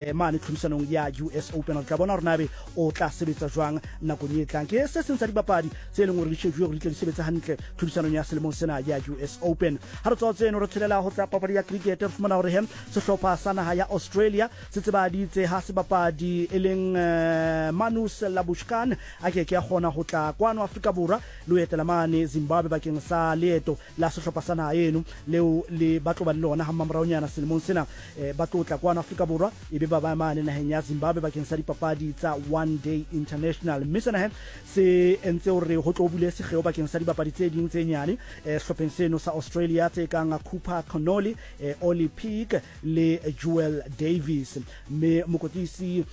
Mane tlhodisanong ya US Open. Re tla bona gore nabe o tla sebetsa jwang nakong e tlang. Ke se seng sa dibapadi tse leng gore di shejuwe gore di tle di sebetse hantle tlhodisanong ya selemong sena ya US Open. Ha re tswa tseno re tshelela ho tsa papadi ya cricket, re fumana hore he sehlopha sa naha ya Australia se tsebaditse ha sebapadi e leng Marnus Labuschagne a ke ke a kgona ho tla kwano Afrika Borwa le ho etela mane Zimbabwe bakeng sa leeto la sehlopha sa naha eno leo le ba tlo ba le lona ha mmamoraonyana selemong sena. Ba tlo tla kwano Afrika Borwa e be ba ba mane naheng ya Zimbabwe bakeng sa dipapadi tsa One Day International. Mme sena he se entse hore ho tlo bule sekgeo bakeng sa dibapadi tse ding tse nyane sehlopheng seno sa Australia tse kang Cooper Connolly, Ollie Peak le Joel Davies. Mme mokwetlisi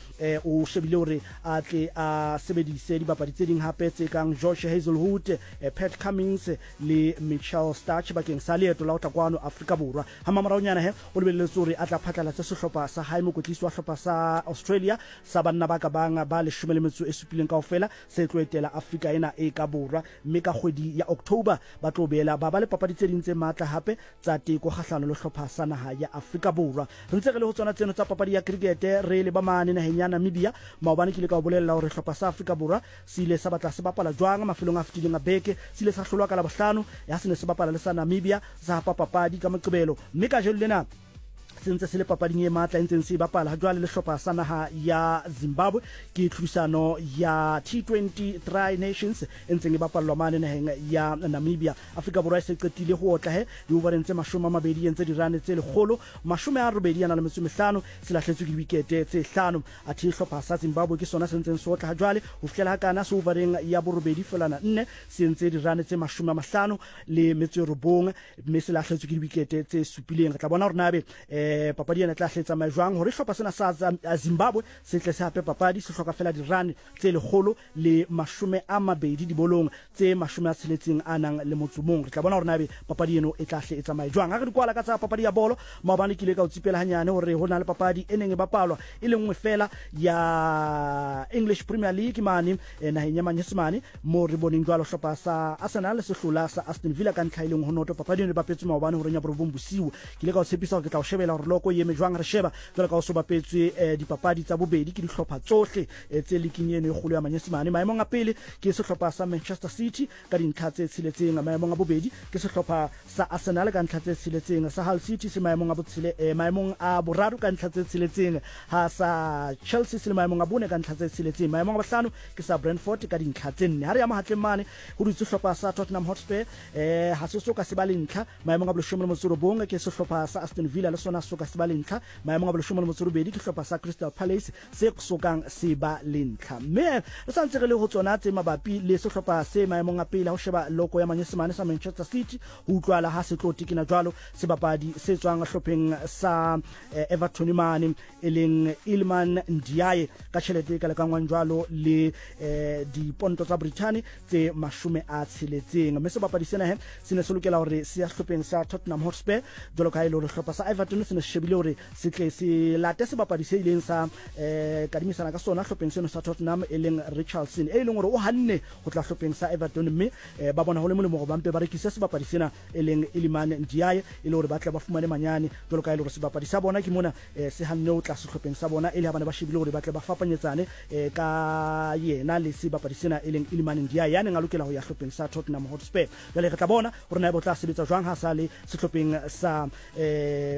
o shebile hore a tle a sebedise dibapadi tse ding hape tse kang Josh Hazlewood, Pat Cummins le Mitchell Starc bakeng sa leeto la ho tla kwano Afrika Borwa. Ha mmamoraonyana he, o lebelletswe hore a tla phatlalatse sehlopha sa hae. Mokwetlisi wa hlopha sa Australia sa banna ba ka bang ba 17 kaofela se tlo etela Afrika ena e ka borwa, mme ka kgwedi ya October ba tlo boela ba ba le papadi tse ding tse matla hape tsa teko kgahlano le hlopha sa naha ya Afrika Borwa. Re ntse re le ho tsona tseno tsa papadi ya krikete, re leba mane naheng ya Namibia. Maobane ke ile ka o bolella hore hlopha sa Afrika Borwa Se ile sa batla se bapala jwang mafelong a fetileng a beke? Se ile sa hlolwa ka Labohlano ha se ne se bapala le sa Namibia, sa hapa papadi ka Moqebelo, mme kajeno lena se ntse se le papading e matla e ntseng se e bapala hajwale le hlopha sa naha ya Zimbabwe. Ke tlhodisano ya T20 Tri Nations e ntseng e bapallwa mane naheng ya Namibia. Afrika Borwa e se qetile ho otla he diovareng tse 20 e entse dirane tse 185, se lahletswe ke diwikete tse hlano. Athe hlopha sa Zimbabwe ke sona se ntseng se otla hajwale ho fihlela hakana se ovareng ya borobedi felwana nne, se entse dirane tse 59 mme se lahletswe ke diwikete tse supileng. Re tla bona hore na ebe papadi ena e tla hle e tsamaye jwang hore hlopha sena sa Zimbabwe se tle se hape papadi. Se hloka fela dirane tse 120 dibolong tse 60 a nang le motso mong. Re tla bona hore na ebe papadi eno e tla hle e tsamaye jwang. Ha re di kwala ka tsa papadi ya bolo, maobane ke ile ka o tsipela hanyane hore ho na le papadi e neng e bapalwa e le nngwe fela ya English Premier League mane naheng ya Manyesemane, moo re boneng jwalo hlopha sa Arsenal se hlola sa Aston Villa ka ntlha e leng ho noto. Papadi eno e bapetswe maobane horeng ya borobong bosiu. Ke ile ka o tshepisa hore ke tla o shebela hore loko e eme jwang. Re sheba jwalo ka ho so bapetswe dipapadi tsa bobedi ke dihlopha tsohle tse liking eno e kgolo ya Manyesemane. Maemong a pele ke sehlopha sa Manchester City ka dintlha tse tsheletseng. Maemong a bobedi ke sehlopha sa Arsenal ka ntlha tse tsheletseng. Sa Hull City se maemong a botshele, maemong a boraro ka ntlha tse tsheletseng, ha sa Chelsea se le maemong a bone ka ntlha tse tsheletseng. Maemong a bohlano ke sa Brentford ka dintlha tse nne. Ha re ya mahatleng mane ho dutse sehlopha sa Tottenham Hotspur, ha se so ka se ba le ntlha. Maemong a boleshome le motso robong ke sehlopha sa Aston Villa, le sona se so ka se ba le ntlha. Maemong a boleshome le motso robedi ke sehlopha sa Crystal Palace se sokang se ba le ntlha. Mme re sa ntse re le ho tsona tse mabapi le sehlopha se maemong a pele ha ho sheba loko ya Manyesemane sa Manchester City, ho utlwala ha se tlo tekena jwalo sebapadi se tswang hlopheng sa Everton mane e leng Iliman Ndiaye ka tjhelete e ka lekangwang jwalo le diponto tsa Brithani tse 60. Mme sebapadi sena he se ne se lokela hore se ya sehlopheng sa Tottenham Hotspur, jwalo ka ha e le hore sehlopha sa Everton se ne se shebile hore se tle se late sebapadi se ileng sa kadimisana ka sona hlopheng seno sa Tottenham e leng Richarlison, e leng hore o hanne ho tla hlopheng sa Everton, mme ba bona ho le molemo hore ba mpe ba rekise sebapadi sena e leng Iliman Ndiaye e le hore ba tle ba fumane manyane, jwalo ka e le hore sebapadi sa bona ke mona se hanne ho tla sehlopheng sa bona e le ha ba ne ba shebile hore ba tle ba fapanyetsane ka yena le sebapadi sena e leng Iliman Ndiaye ya neng a lokela ho ya hlopheng sa Tottenham Hotspur. Jwale re tla bona hore na ebe o tla sebetsa jwang ha sa le sehlopheng sa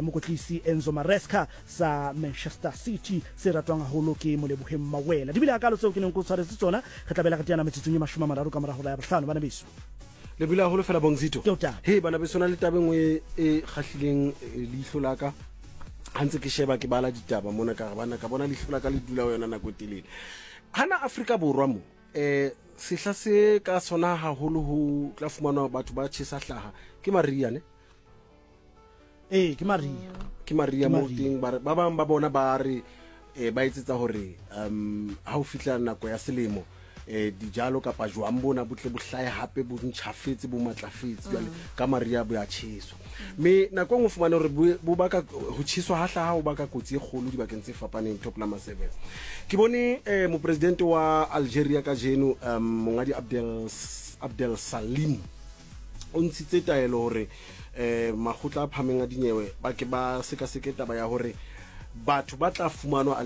mokwetlisi Enzo Maresca sa Manchester City se ratwang haholo ke Moleboheng Mawela. Di bile hakalo tseo ke neng ke o tshwaretse tsona. Re tla bela re teana metsotsong e 30 ka mora hora ya bohlano, bana beso. Le bile haholo fela Bongzito. Ke o taba. He bana beso, na le taba e nngwe e kgahlileng leihlo la ka ha ntse ke sheba ke bala ditaba mona, ka re bana ka bona leihlo la ka le dula ho yona nako e telele. Hana Afrika Borwa mo sehla se ka sona haholo ho tla fumanwa batho ba tjhesa hlaha ke mariha ne? Ee, ke mariha. Ke mariha mo teng ba ba bang ba bona ba re ba etsetsa hore ha o fihla nako ya selemo dijalo kapa jwang bona bo tle bo hlahe hape bo ntjhafetse bo matlafetse, jwale ka mariha bo ya tjheswa. Mme nako e nngwe o fumane hore bo baka ho tjheswa ha hlaha ho baka kotsi e kgolo dibakeng tse fapaneng. Top number 7 ke bone mopresidente wa Algeria kajeno mongadi Abdel Salim o ntshitse taelo hore makgotla a phahameng a dinyewe ba ke ba sekaseke taba ya hore Batho ba tla fumanwa.